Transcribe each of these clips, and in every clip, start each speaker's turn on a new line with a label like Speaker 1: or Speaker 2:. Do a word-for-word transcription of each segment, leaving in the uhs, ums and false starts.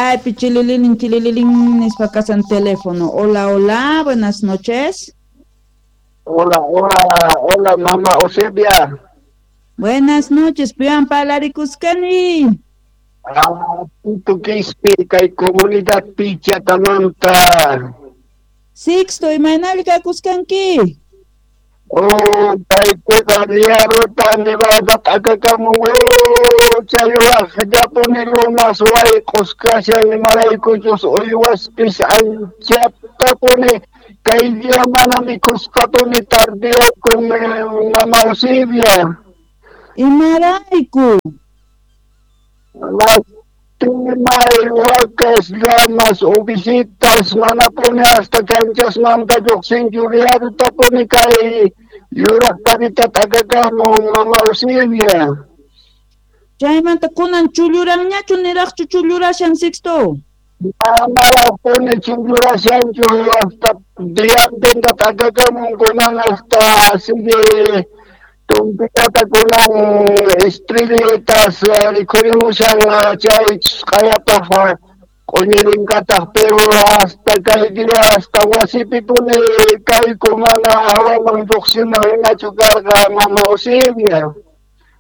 Speaker 1: Ay, chilililin, chilililin, nispa kasan teléfono. Hola, hola, buenas noches.
Speaker 2: Hola, hola, hola, mamá Eusebia.
Speaker 1: Buenas noches, pian palarikuscani.
Speaker 2: Ah, Tito Quispe, kay comunidad Pichatamanta.
Speaker 1: Sixto, imaynalka kuskanki.
Speaker 2: Oh, kaypiqa riaruta nevada t'akakamun, challwaq llapuni lunas wayq'us kashan, imaraykuchus uywaspis anchatapuni kay día mana mikhusqapuni tardiyakun, mama Eusebia.
Speaker 1: Imarayku?
Speaker 2: Lastimay wakas, llamas, ovisitas, manapuni hasta kanchasmanta lluqsinchu, riarutapuni kay yuraq tarita t'akakamun, mama Eusebia.
Speaker 1: Chaymanta kunan chulluranñachu niraqchu chullurashan, Sixto?
Speaker 2: Manaraqpuni chullurashanchu, hasta diantinta t'akakamun kunan hasta sigue tumpitata kunan estrellitas rikhurimushan chay q'ayapaq q'uñirinkataq, pero hasta kay día hasta wasipipuni kayku mana hawaman lluqsina hinachu karqa, mama Eusebia.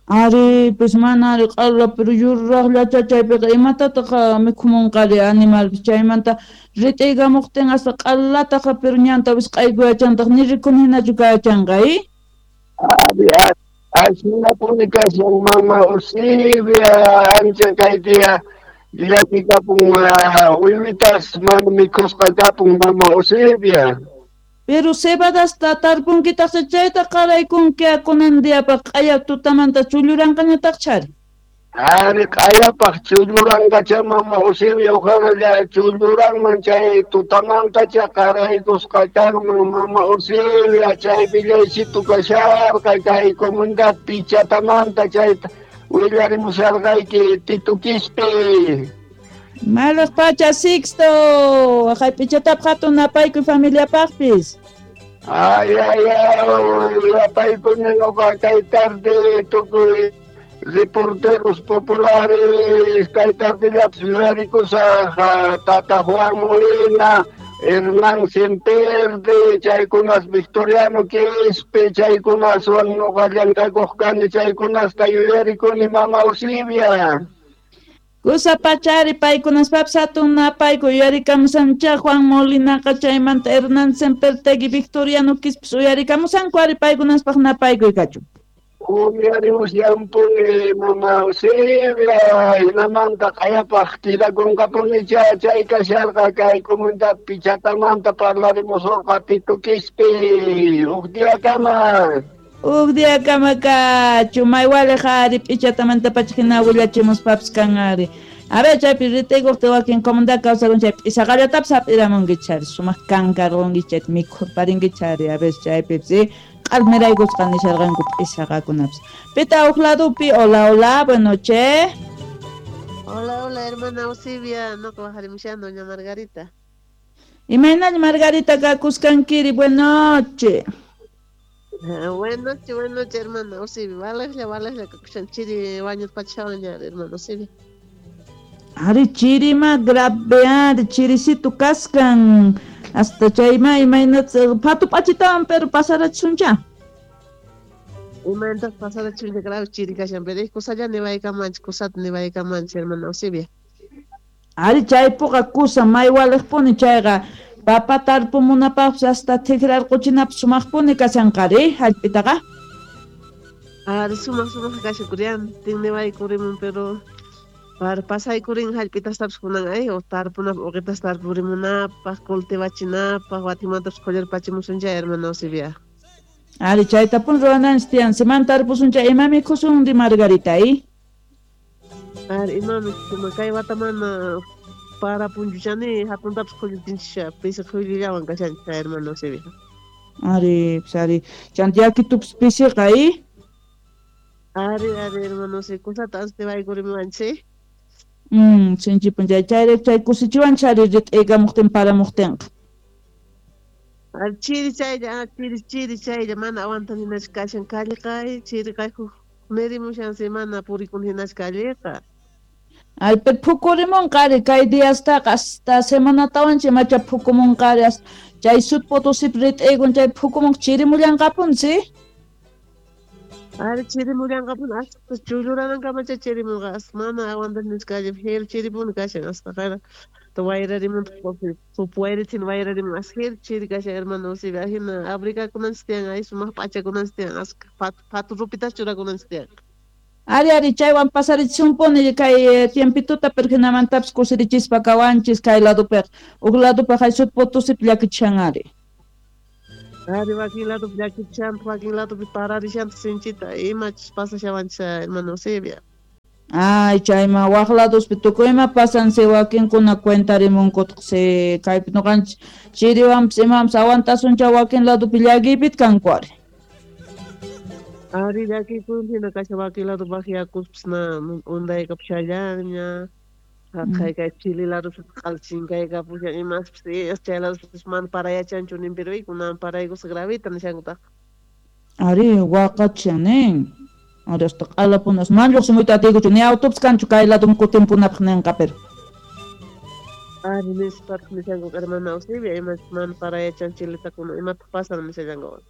Speaker 1: Ari, pues mana ari q'ala, pero yuraqllacha chaypiqa imatataq mikhumunqari animalpis chaymanta rit'iykamuqtin hasta q'alataqa, pero ñanta wisq'aykuyachantaq ni rikun hinachu kayachanqa, eh?
Speaker 2: Ari, ashinapuni kashan, mama Eusebia, ancha kay día llakikapun uywitas mana mikhusqa kapun, mama Eusebia.
Speaker 1: Pero cebadasta tarpunkitaq chayta qaraykunki kunan diapaq q'aya tutamanta chulluranqañataq chari.
Speaker 2: Ari, q'ayapaq chulluranqacha, mama Eusebia, uqaqa chulluranman chay tutamantacha qaraykusqa kanman, mama Eusebia, chay villaysitu kasharqa kay comunidad Pichatamanta chayta willarimusharqayki, Tito Quispe.
Speaker 1: Malaq pacha, Sixto, waqay Pichatapaq hatun napaykuy familiapaqpis.
Speaker 2: Ay, ay, ay, napaykuni nuqa kay tarde tukuy reporteros populares, kay tardellapis yuyarikusaq Tata Juan Molina, Hernán Semperde, chaykunas Victoriano Quispe, chaykunaswan nuqa llank'akuq kani, chaykunasta yuyarikuni, mama Eusebia.
Speaker 1: Kusa pachari paykunaspapis hatun napayku yuyarikamusancha Juan Molinaqa chaymanta Hernán Sempertegui Victoriano Quispis uyarikamusanku ari paykunaspaq napaykuy kachun.
Speaker 2: Uyarimusyanpuni, mama Eusebia, hinamanta q'ayapaq kidakunqapunicha chay kasharqa kay comunidad Pichatamanta parlarimusurqa Tito Quispe, huk diakama.
Speaker 1: Huk diakama kachu, may waliq ari Pichatamanta pacha hina willachimuspapis kan ari. A ver, chaypi rit'ikuqti wakin comunidad kawsakun chay p'isaqallatapis hap'iramunkichari, sumaq kankarqunki chayta mikhurparinkichari, a ver chaypipis q'almiraykusqa nisharqanku p'isaqakunapis. Pita huk ladupi, hola, hola, buenas noches.
Speaker 3: Hola, hola, hermana Eusebia, noqa waqarimushan, doña Margarita.
Speaker 1: Imaynalla Margarita kakusqankiri, buenas noches.
Speaker 3: Buenas noches, buenas noches, hermana Eusebia. Valejlla, valejlla, kakushan chiri wañurpachawaña, hermana Eusebia.
Speaker 1: Ari chirima grave, ari chirisitu kaskan. Hasta chayma imaynat phatu p'achitawan, pero pasarachisuncha.
Speaker 3: Imaynataq pasarachisuncha, grave chiri kashan, pero kusalla niwaykamanchik, kusata niwaykamanchik, hermana Eusebia.
Speaker 1: Ari chaypuqa kusa may waliqpuni chayqa papa tarpumunapaqpis hasta tikrarquchinapis sumaqpuni kashanqari hallp'itaqa.
Speaker 3: Ari sumaq sumaq kashan kurian, tinniwaykurimun, pero para pasaykurin hallp'itastapis kunan ay o tarpunapaq uqitas tarpurimunapaq cultivachinapaq watimantapis qhullarpachimusun chay, hermana Eusebia.
Speaker 1: Ari chaytapun ruwananchik tiyan, siman tarpusun chay, ima mikhusun ri Margarita, eh?
Speaker 3: Ari ima mikhusun, kay watamana para punchuchani hatuntapis qhullutinchik pisi qhullullawan kashanchik, hermana Eusebia.
Speaker 1: Ari, pues ari, chanta yakitupis pisiqa, eh?
Speaker 3: Ari, ari, hermana Eusebia, kusata antiwaykurimuwanchik.
Speaker 1: Mm, sinchipun chay chayrayku chay kusichiwanchik ari rit'iykamuqtin paramuqtinqa.
Speaker 3: Ari chiri chaylla, chiri chiri chaylla mana aguantaninachu kashan calleqa, chiriqa huk nirimushansi mana purikun hinachu calleqa.
Speaker 1: Ay, pero phukurimunqari kay diastaqa hasta semanatawanchik macha phukumunqari chay Sud Potosí rit'iykun chay phukumun chirimullanqapunsi.
Speaker 3: Ari chirimullanqapun hasta chulluranankamacha chirimunqa hasta mana aguantanisqalla jero chiripuni kashan hasta qara wayrarimun sup wayrichin wayrarimun hasta jero chiri kashan hermano Eusebio ajina abrigakunanchis tiyan ay sumaq p'achakunanchis tiyan hasta phatu rupitas churakunanchis tiyan.
Speaker 1: Ari ari chaywan pasarichisunpuni kay tiempituta pero hinamantapis kusirichispa kawanchis kay ladopiqa huk ladopaq hay Sud Potosípi llakichishan ari.
Speaker 3: Ari wakin ladopi llakichishantaj wakin ladopi pararishantaq sinchita imachus pasashawanchis hermano Eusebio.
Speaker 1: Ay chayma wak ladospi tukuy ima pasansi wakinkuna cuentarimunkutaq si kaypi ñuqanchis chiriwanpis imawanpis aguantasuncha wakin ladopi llakiypita kanku ari.
Speaker 3: Ari llakikun hina kashan wakin lado baqyakuspis na undaykapushallanña haqay kay Chile ladopis q'ala chinkaykapushan imaspis chay ladospis mana parayachanchu nin pero kunan paraykusqa gravita nishankutaq.
Speaker 1: Ari waqachishan nin ari hasta q'alapunas mana lluqsimuyta atiykuchu ni autopis kanchu kay ladoman kutinpunapaq ninqa pero.
Speaker 3: Ari nispataq nishanku hermana Eusebia imas mana parayachan Chileta kunan imataq pasan nishallanku.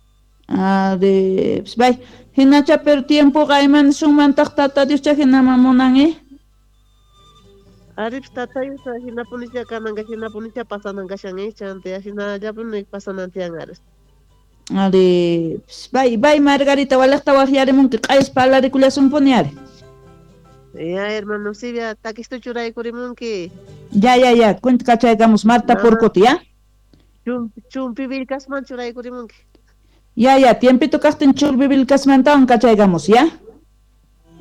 Speaker 1: Ari pues bay hinacha pero tiempoqa ima nisunmantaq tata Dioscha hinaman munan eh.
Speaker 3: Ari tata Dios hinapunicha kananqa hinapunicha pasanan kashan eh chanta hinallapuni pasanan tiyan ari.
Speaker 1: Ari pues bay bay Margarita walaqta waqyarimunki q'ayas parlarikullasunpuni ari.
Speaker 3: Ya hermano Eusebia takistu churaykurimunki.
Speaker 1: Ya ya ya cuenta kachaykamus Marta Porcota ya.
Speaker 3: Chumpi Chumpivilcasman churaykurimunki.
Speaker 1: Ya, ya, tiempito kaqtin Chumpivilcasmantawan kachaykamus, ya?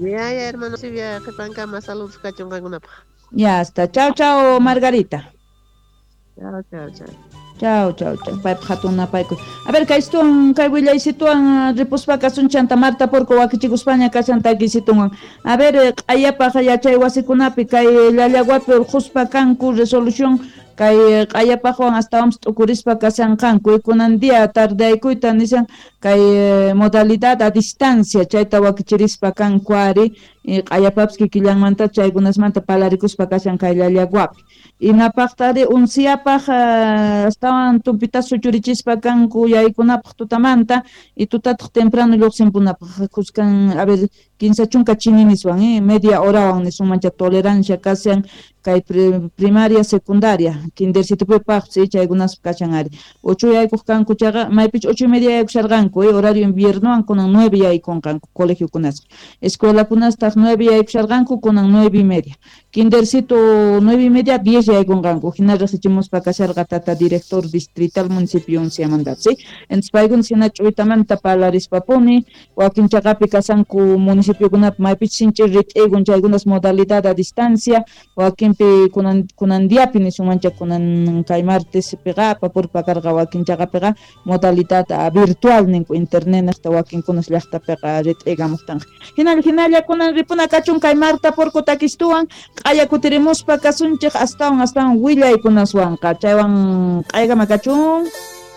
Speaker 3: Ya, ya, hermano, sí, ya, qhipankama saludos kachun qankunapaq.
Speaker 1: Ya, hasta. Chao, chao, Margarita.
Speaker 3: Chao, chao, chao.
Speaker 1: Chao, chao, chao. Paypaq hatun napaykuy. A ver, kaystuwan, kay willaysituwan ripuspa kasun chanta Marta Porco wakichikuspaña kashan takisitunwan. A ver, q'ayapaq yachay wasikunapi kay Llallaguapi urqhuspa kanku resolución kay q'ayapaqwan astawanpis t'ukurispa kashanqanku kunan día tardeaykuyta nishan kay modalidad a distancia chayta wakichirispa kanku ari q'ayapapis kikillanmanta chaykunasmanta palarikuspa kashan kay Llallaguapi inapaqtari unsiyapaq astawan tumpita suchurichispa kanku yaykunapaq tutamanta y tutataq temprano lluqsinpunapaq kuskan a ver kinsa chunka chininiswan eh media horawan nisunmancha tolerancia kashan kay primaria secundaria kindersitupipaqpis chaykunaspa kashan ari ocho yaykuq kanku chayqa maypichu ocho y media yaykusharqanku eh horario inviernowan kunan nueve yaykunqanku colegiokunasqa escuelakunastaq nueve yaykusharqanku kunan nueve y media kindersito nueve y media diez yaykunqanku hina riqsichimuspa kasharqa tata director distrital municipio Unciamanta ¿sí? Entonces paykunas hina ch'uytamanta parlarispapuni wakin chaqapi kashanku municipiokunapi maypichus sinchi rit'iykun chaykunas modalidad a distancia wakinpi kunan kunan diapi nisunmancha kunan kay martespiqa apapurpa karqa wakin chaqapiqa modalidad virtual ninku internet niqta wakinkunas llaqtapiqa rit'iykamuqtanqa hinalla hinalla kunan ripuna kachun kay Marta Porco takistuwan q'aya kutirimuspa kasunchik astawan astawan willaykunaswanqa chaywan q'aykama kachun.